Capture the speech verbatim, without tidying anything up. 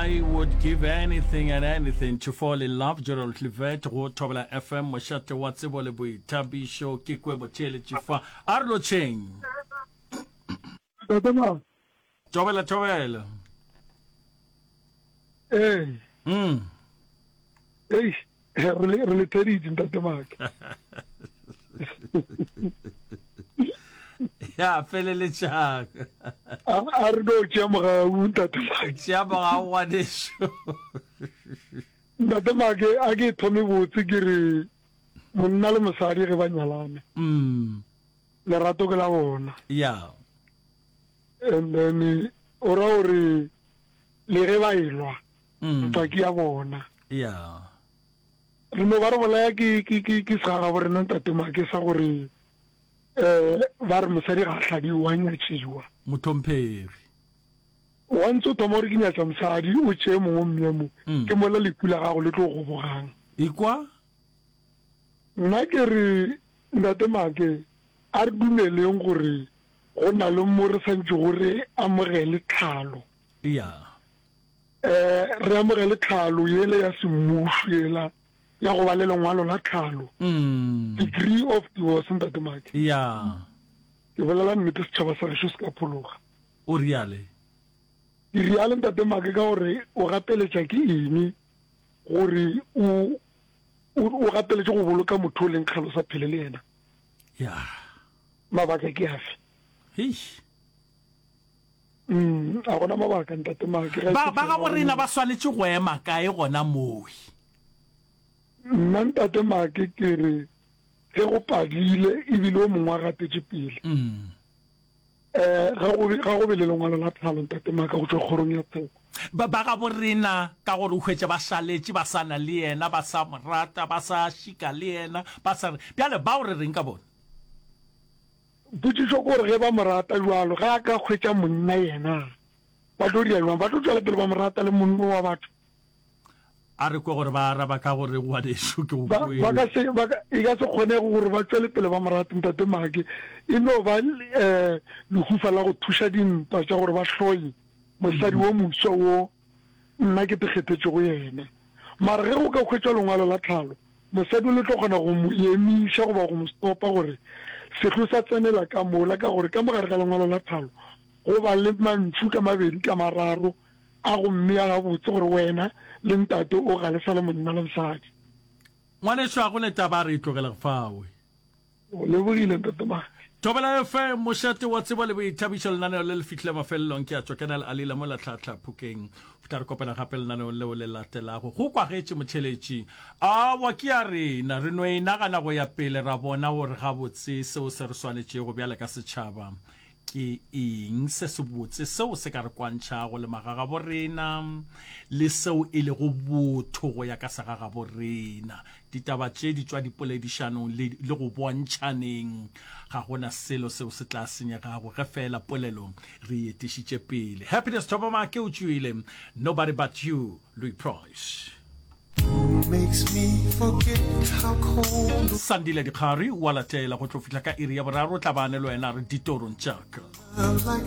I would give anything and anything to fall in love Gerald Levert go Thobela FM mošate wa tsebo le boithabišo ke kwe botheeletši fa a re lotšheng Ntate Mang. Thobela thobela. Ee. Mm. Eish, re le re le theditše ntate Make. Ya feleletšang. A a re no tšea mogau ntate Make. Tšea mogau ngwanešu. Ntate Make a ke thome botse ke re monna le mosadi ge ba nyalana. Mm. Lerato ke la bona. Ya. And then o ra gore le ge ba elwa ntwa ke ya bona. Ya. Re no ba re bolaya ke ke ke ke segagabo rena ntate Make sa gore eh ba re mosadi ga a hladiwe wa nyatšiwa. Mohlomphegi. Once o thoma gore ke nyatša mosadi o tšee mongwe o mmee mo, ke mola lehu la gago le tlo gobogang. Ekwa? Nna ke re ntate Make a re dumeleng gore go na le mo re santšego re amogele tlhalo. Ya. Eh, re amogele tlhalo yela ya semmušo yela ya go ba le lengwalo la tlhalo. Mm. Degree of divorce, Ntate Make. Ya. Ke bolela nnete setšhaba sa gešo se ka phologa. O riale? Ke riale Ntate Make ka gore o gapeletša ke eng gore o o o gapeletše go boloka motho o leng kgale o sa phele le yena? Ya. Mabaka ke afe? Eish. Mm, a gona mabaka ntate Make. Ga Ba ke ba gabo tseba rena gore ba swanetše go ema kae gona mowe? Nna ntate Make ke re ge go padile ebile o mongwe a gatetše pele. Mm. Eh, ga go be, ga go be le lengwalo la tlhalo ntate Maka go tšwa kgorong ya tsheko. Ba, ba gabo rena ka gore o hwetše ba šaletše ba sa na le yena, ba sa mo rata, ba sa šika le yena, ba sa re. Bjale bao re reng ka bona? Potšišo ke gore ge ba mo rata bjalo, ge a ka hwetša monna yena, ba tlo dira bjang? Ba tlo tšwela pele ba mo rata le monno wa batho? A re kwe gore ba araba ka gore, Ngwanešu, ke go Ba, ba ka kwele. se, ba ka, e ka se kgonege gore ba tšwele pele ba mo rate, Ntate Make. E no ba eh, lehufa la go thuša dintwa tša gore ba hloye mosadi wo mofsa wo nna ke te kgethetšego yena. Mara ge go ka hwetšwa lengwalo la tlhalo, mosadi o le tlo kgona go mo emiša goba go mo stopa gore sehlo sa tsenela ka mola, ka gore ka mo gare ga lengwalo la tlhalo go ba le mantšu ka mabedi ka mararo a go mmea gabotse gore wena le ntate o ga le sa le monna le mosadi. Ngwanešu a go ne taba a re e tlogele fawe. O lebogile ntate Mane. Thobela F M, mošate wa tsebo le boithabišo, lenaneo le le fihlile mafelelong. Ke a tšwa ke na le Alila mola Tlhahla Phokeng. Go tla re kopana gape lenaneong leo le latelago. Go kwagetše motheeletši. Aowa ke ya rena. Re no e nagana go ya pele ra bona gore gabotse seo se re swanetšego bjale ka setšhaba Ke eng se sebotse seo se ka re kwantšhago le magagabo rena le seo e lego botho go ya ka segagabo rena? Ditaba tše di tšwa dipoledišanong le, le go bontšhaneng. Ga go na selo seo se tla senyegago ge feela polelo re e etišitše pele. Happiness Thobamake o tšwile Nobody But You, Louis Price. Sandile Dikgari o a latela go tlo fihla ka iri ya boraro, o tla ba a ne le wena a re ditorong tša ka.